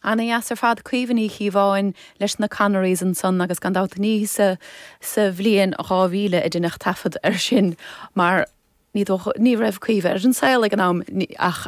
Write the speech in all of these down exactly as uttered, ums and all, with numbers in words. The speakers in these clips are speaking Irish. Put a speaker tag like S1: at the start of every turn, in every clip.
S1: Ana-dheas ar fad Caoimhe Ní Chíobháin leis na Connerys ansan agus gan dabht ní sa sa bhliain dhá mhíle a deineadh taifead air sin mar ní ní raibh Caoimhe ar an saol ag an am ach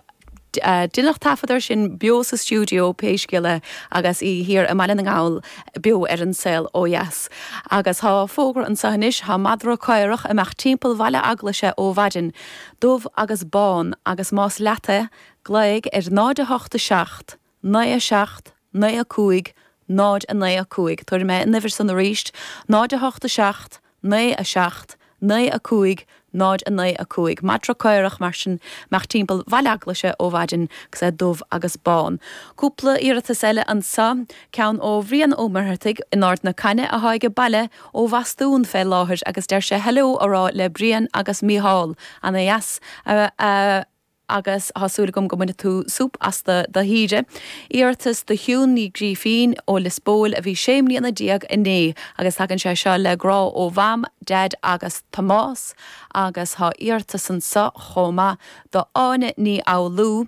S1: deineadh taifead air sin beo sa stiúideo pé scéal é agus í thiar i mBaile na nGall beo ar an saol ó dheas. Agus tá fógra anseo anois tá madra caorach ag imeacht timpeall Bhaile Eaglaise ó mhaidin, dubh agus bán agus más leat é, glaoigh ar náid a hocht a seacht, naoi a seacht, naoi a cúig, náid a naoi a cúig. Tabharfaidh mé an uimhir san arís, náid a hocht a seacht, naoi a seacht, naoi a cúig, náid a naoi a cúig. Madra caorach mar sin ag imeacht timpeall Bhaile Eaglaise ó mhaidin agus é dubh agus bán. Cúpla iarratas eile anseo, ceann ó Bhrian Ó Muircheartaigh in Ard na Cainne atá ag baile ó Bhostún fé láthair agus deir sé hello a rá le Brian agus Mícheál. Ana dheas a agus tá súil agam go mbainfidh tú súp as do do shaoire. Iarratas do Shiún Ní Ghrífín ó Lios Póil a bhí sé mbliana déag inné agus tagann sé seo le grá ó Mham, Deaid agus Tomás agus tá iarratas anseo chomh maith do Áine Ní Fhoghlú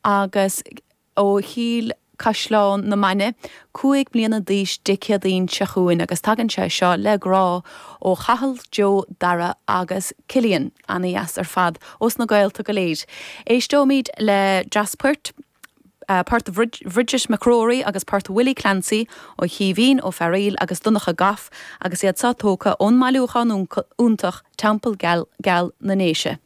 S1: agus ó Chill Caisleán na Mainge, cúig bliana d'aois Dé Céadaoin seo chugainn agus tagann sé seo le grá ó Chathal, Joe, Dara agus Cillian, ana-dheas ar fad ós na gaolta go léir. Éisteoimid le dreas poirt, port Bridget McCrory agus port Willie Clancy ó Chaoimhín Ó Fearaíl agus Donncha Goff agus iad seo tógtha ón mbailiúchán iontach Teampall Geal, Geal na nDéise.